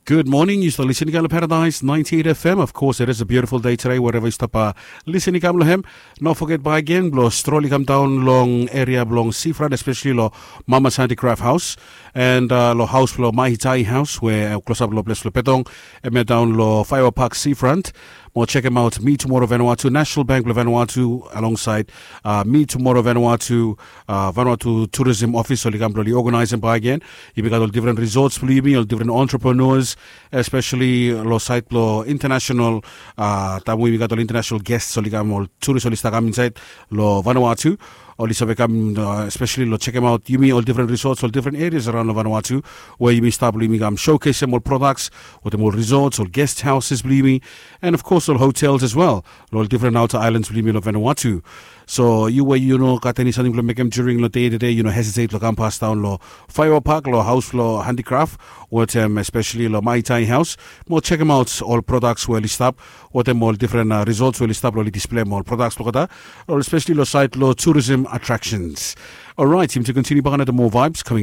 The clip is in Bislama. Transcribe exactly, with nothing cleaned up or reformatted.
Good morning, yu stap lisin i kam long Paradise ninety-eight F M. Of course, it is a beautiful day today, wherever yu stap lisin i kam long hem. No forget bae gen blong strol i kam daon long eria blong Seafront, especially long Mama's Handicraft House and uh, long haus blong Maitai House, we uh, klosap long ples blong Petong, em ya daon long Firework Park Seafront. Mo check em out, Mi Tomorrow Vanuatu, National Bank blong Vanuatu, alongside uh, Mi Tomorrow Vanuatu, uh, Vanuatu Tourism Office, oli kam blong oli organize em bae gen. Yumi gat ol different resorts blong yumi, ol different entrepreneurs, especially lo side blong international, uh, taem we yumi gat ol international guests oli kam, ol tourist oli stap kam inside lo Vanuatu. Oli save kam uh, especially lo check em out yumi ol different resorts, ol different areas around lo Vanuatu, where yumi stap blong yumi kam showcase em ol products, wetem ol resorts, ol guest houses blong yumi, and of course ol hotels as well, lo ol different outer islands blong yumi lo Vanuatu. So yu we yu no gat eni samting blong mekem during lo day to day, yu no hesitate lo kam pas daon lo Firework Park, lo haus blong Handicraft, wetem especially lo Maitai House. Mo check em out ol products we oli stap, wetem ol different uh, resorts we oli stap lo oli display em ol products blong olgeta, ol especially lo side lo tourism attractions. Alright, yumi to continue bae another more vibes coming